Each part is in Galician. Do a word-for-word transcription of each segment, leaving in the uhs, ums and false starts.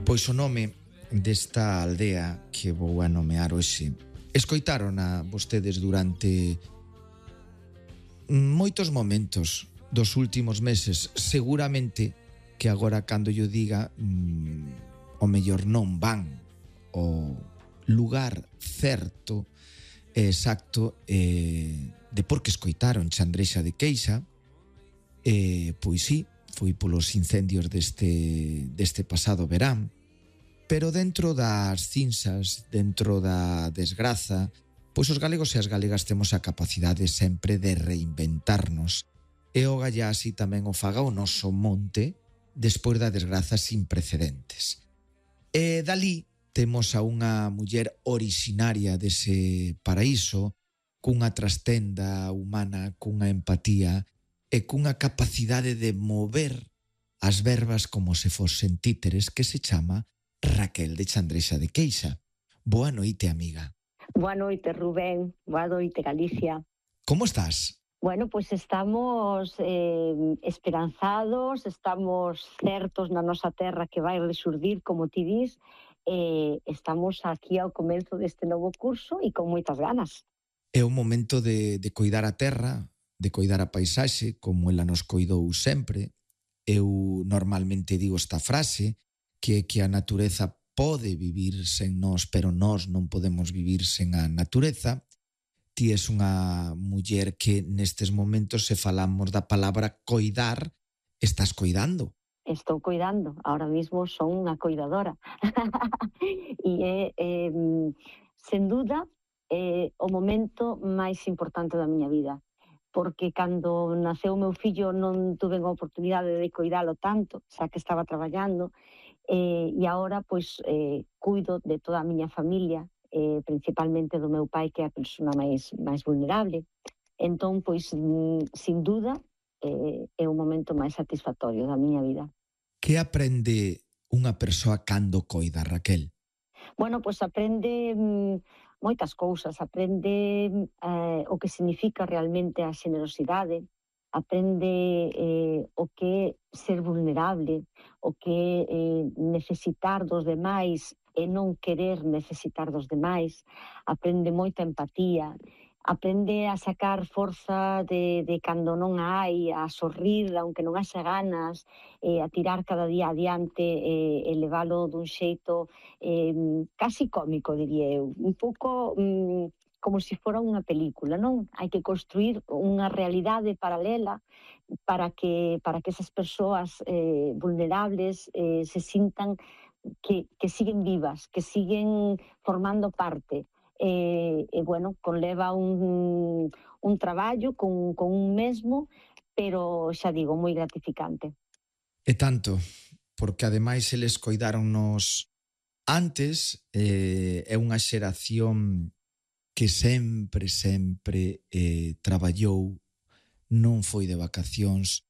Pois o nome desta aldea que vou a nomear hoxe escoitaron a vostedes durante moitos momentos dos últimos meses. Seguramente que agora cando yo diga mmm, o mellor non van o lugar certo e exacto eh, de por que escoitaron Chandrexa de Queixa. Eh, pois sí, foi polos incendios deste, deste pasado verán, pero dentro das cinzas, dentro da desgraza, pois os galegos e as galegas temos a capacidade sempre de reinventarnos, e o gallá así tamén o faga o noso monte despois da desgraza sin precedentes. E dalí temos a unha muller orixinaria dese paraíso, cunha trastenda humana, cunha empatía e cunha capacidade de mover as verbas como se fosen títeres, que se chama Raquel de Chandrexa de Queixa. Boa noite, amiga. Boa noite, Rubén. Boa noite, Galicia. Como estás? Bueno, pois pues estamos eh, esperanzados, estamos certos na nosa terra que vai resurdir, como ti dis, e eh, estamos aquí ao comezo deste novo curso e con moitas ganas. É o momento de, de coidar a terra, de coidar a paisaxe, como ela nos coidou sempre. Eu normalmente digo esta frase, que é que a natureza pode vivir sen nós, pero nós non podemos vivir sen a natureza. Ti és unha muller que nestes momentos, se falamos da palabra coidar, estás coidando. Estou coidando, ahora mismo son unha coidadora. E é, eh, sen duda, eh, o momento máis importante da miña vida. Porque cando naceu o meu fillo non tuve a oportunidade de coidalo tanto, xa que estaba traballando, eh, e agora pois eh, cuido de toda a miña familia, eh, principalmente do meu pai, que é a persona máis, máis vulnerable. Entón, pois, sin duda, eh, é o momento máis satisfactorio da miña vida. Que aprende unha persoa cando coida, Raquel? Bueno, pois aprende mm, moitas cousas, aprende eh, o que significa realmente a xenerosidade, aprende eh, o que é ser vulnerable, o que é eh, necesitar dos demais e non querer necesitar dos demais, aprende moita empatía, aprende a sacar forza de, de cando non a hai, a sorrir, aunque non haxa ganas, eh, a tirar cada día adiante eh, e leválo dun xeito eh, casi cómico, diría eu. Un pouco mm, como se fora unha película, non? Hai que construir unha realidade paralela para que, para que esas persoas eh, vulnerables eh, se sintan que, que siguen vivas, que siguen formando parte. E, e bueno, conleva un, un traballo con, con un mesmo, pero xa digo, moi gratificante. E tanto, porque ademais eles coidáronnos antes, eh, é unha xeración que sempre, sempre eh, traballou, non foi de vacacións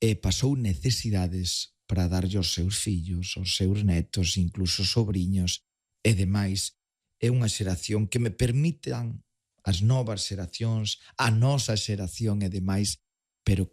e pasou necesidades para darlle aos seus fillos, aos seus netos, incluso sobriños e demais. É unha xeración que me permitan as novas xeracións, a nosa xeración e demais, pero que